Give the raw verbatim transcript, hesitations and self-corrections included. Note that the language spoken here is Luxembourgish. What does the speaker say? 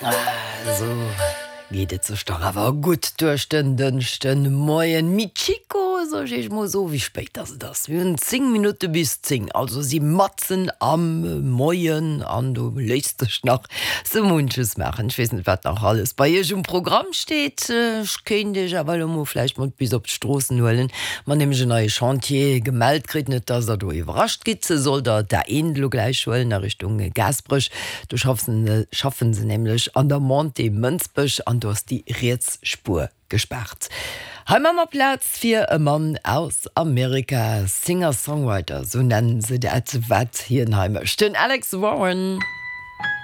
Sou geet et sech dach awer gutt duerch den Dënschdemoien. Mi Chico, sot ech mol sou, wéi spéit ass et ass? Mir hunn zéng Minutte bis zéng, also si matzen am Moien an do léisst sech nach sou munches maachen. Ech weess net, wat nach alles bei iech um Programm steet. Ech kéint iech awer elo mol vläicht mat bis op d'Stroossen huelen. Mer nämlech en neie Chantier gemellt kritt, net dass der do iwwerrascht gitt. Sollt der d'A eent elo gläich huelen a Richtung Gaasperech, do schaffen schaffen se nämlech an der Montée Mënsbech an do ass déi riets Spuer gespaart. Hei maa mer Plaz fir e Mann aus Amerika, Singer-Songwriter, sou nennen se dat wat hien hei mécht, den Alex Warren.